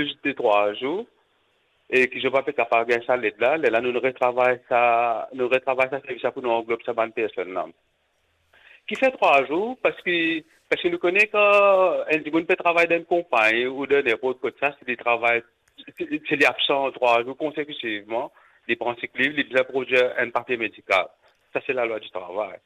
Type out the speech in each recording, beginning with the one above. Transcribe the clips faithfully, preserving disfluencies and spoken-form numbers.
plis de trwa zour, e ki zot pa pe kapav gagn sa led la, lerla nou retravay sa, nou retravay sa servis la pou nou anglob sa bann personn la. Kifer trwa zour? Parski, parski nou kone kan enn dimoun pe travay dan enn konpagni ou dan ninport kot sa, si li travay, si, si li absan trwa zour konsekitivman, li pran sick leave, li bizin prodwir enn papie medikal. Sa se lalwa di travay.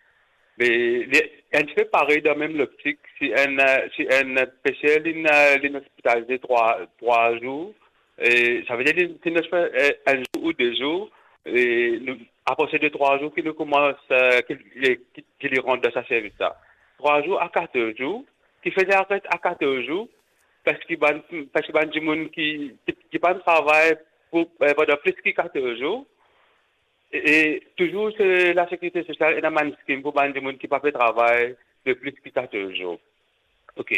Me li enn tipe parey dan mem loptik, si enn, eh, si enn peser li, eh, li ospitalize trwa, trwa zour, e savedir li, si nou fer, eh, enn zour ou de zour, e nou, apre se de trwa zour ki nou koumans, eh, ki, ki, ki li rant dan sa servis la. Trwa zour a katorz zour, kifer li aret a katorz zour, parski bann, parski bann dimoun ki, ki, ki pa'nn travay pou, eh, pandan plis ki katorz zour, e, e touzour se Lasekirite Sosial ena bann skim pou bann dimoun ki pa pe travay de plis ki katorz zour. Ok.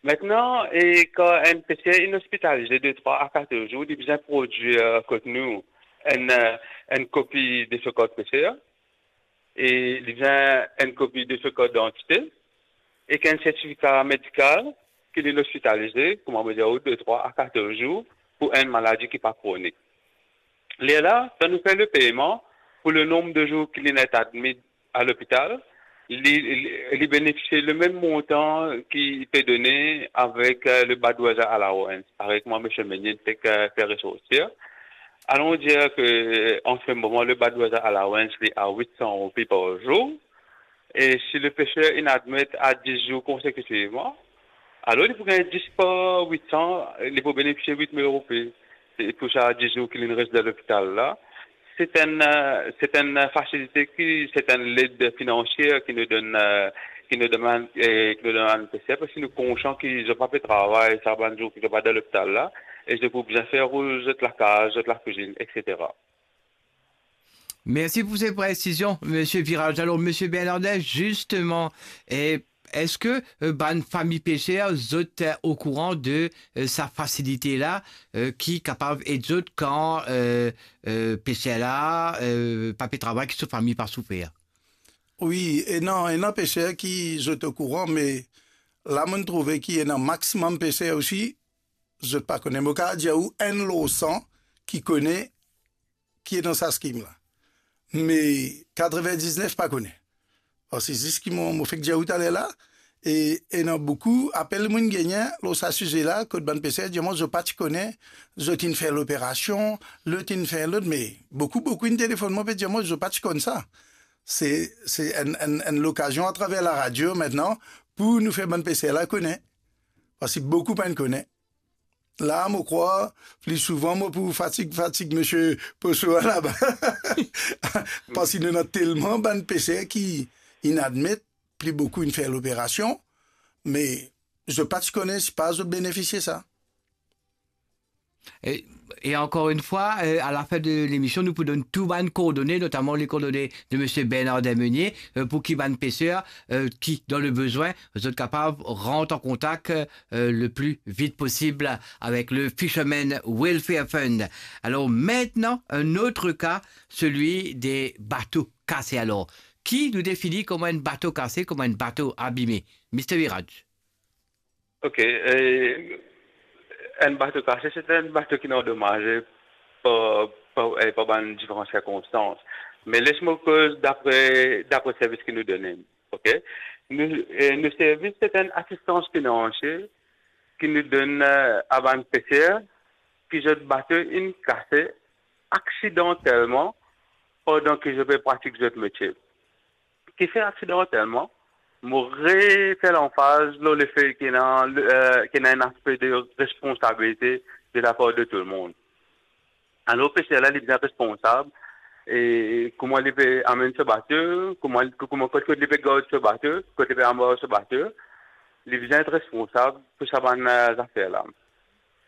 Aster, e kan enn peser inn ospitalize de trwa a katorz zour, li bizin prodwir kot nou enn, eh, enn kopi de so kart peser, e li bizin enn kopi de so kart didantite, ek enn sertifika medikal ki li ospitalize, kouma mo dir ou, de trwa a katorz zour pou enn maladi ki pa kronik. Lerla, kan nou fer lepeyman pou le nonb de zour ki li ena admit a lopital, li, li, li benefisie le mem montan ki pe done avek, eh, le bad weather allowance, parey kouma misie Meunier fek, eh, fer resortir. Alon dir ke, an se moman, le bad weather allowance, li a wit san roupi par zour. E si le peser inn admit a dis zour konsekitivman, alor li pou gagn dis par wit san, li pou benefisie wit mil roupi. E pou sa dis zour ki li res dan lopital la, se enn, eh, se enn fasilite ki, se enn led finansie ki nou donn, eh, ki nou donn, eh, ki nou donn bann peser, parski nou konsian ki zot pa pe travay sa bann zour ki zot pa dan lopital la, e zot pou bizin fer roul zot lakaz, zot lakwizinn, etsetera. Mersi pou se presizion, Misie Virage. Alor, Misie Bernardin, zisteman, eh, eski, eh, bann fami peser, zot, eh, okouran de, eh, sa fasilite la, eh, ki kapav ed zot kan, eh, eh, peser la, eh, pa pe travay, ki so fami pa soufer? Wi, ena, ena peser ki zot okouran, me la mo'nn trouve ki ena maximum peser osi, zot pa kone. Mo kapav dir ou enn lor san ki kone ki ena sa skim la. Me katrevindiznef pa kone. Parski zis ki mo, mo fek dir ou taler la, e ena boukou apel mo'nn gagne lor sa size la, kot bann peser dir mwa zot pa ti kone, zot inn fer loperasion, lot inn fer lot, me boukou, boukou inn telefonn mwa, pe dir mwa zot pa ti konn sa. Se, se enn, enn, enn lokazion atraver laradio aster pou nou fer bann peser la kone. Parski boukou pa'nn kone. La, mo krwar, pli souvan, mo pou fatig, fatig misie Poso laba. Parski nou ena telman bann peser ki inn admit, pli boukou inn fer loperasion, me zot pa ti kone si pa zot benefisie sa. E, e ankor enn fwa, eh, a lafin de lemision, nou pou donn tou bann koordone, notaman le koordone de Misie Bernardin Meunier, eh, pou ki bann peser, eh, ki dan le bezwin, zot kapav rant an kontak, eh, le pli vit posib avek le Fishermen Welfare Fund. Alor, aster, enn lot ka, selwi de bato kase. Alor, ki nou defini kouma enn bato kase, kouma enn bato abime? Mister Virage. Ok, eh, enn bato kase, se enn bato ki andomaze par, par, eh, par bann diferan sirkonstans. Me les mo koz dapre, dapre servis ki nou done. Ok? Nou, eh, nou servis, se enn asistans finansie ki nou donn, eh, a bann peser ki zot bato inn kase aksidantelman pandan ki zot pe pratik zot metie. Kifer aksidantelman? Mo refer lanfaz lor lefe ki ena, eh, ki ena enn aspe de responsabilite de lapar de tou lemonn. Alor, peser la, li bizin responsab, e kouma li pe amenn so bato, kouma, kouma, kot, kot li pe gard so bato, kot li pe anbar so bato, li bizin et responsab pou sa bann, eh, zafer la.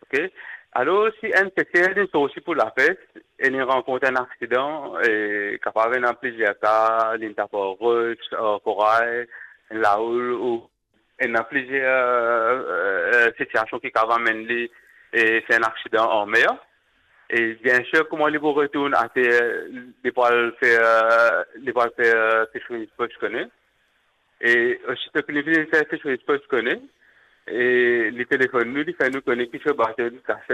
Ok? Alor, si enn peser li sorti pou lapes e li rankont enn aksidan, e kapav ena plizier ka, li tap ar rot, ar koray, laoul, ou ena plizier, eh, eh, sitiasion ki kapav amenn li, e, fer enn aksidan an mer. E biensir, kouma li pou retourn ater, li pou al fer, eh, li pou al fer, eh, Fisheries Post kone. E osito ki li fini fer Fisheries Post kone, e li telefonn nou, li fer nou kone ki so bato li kase.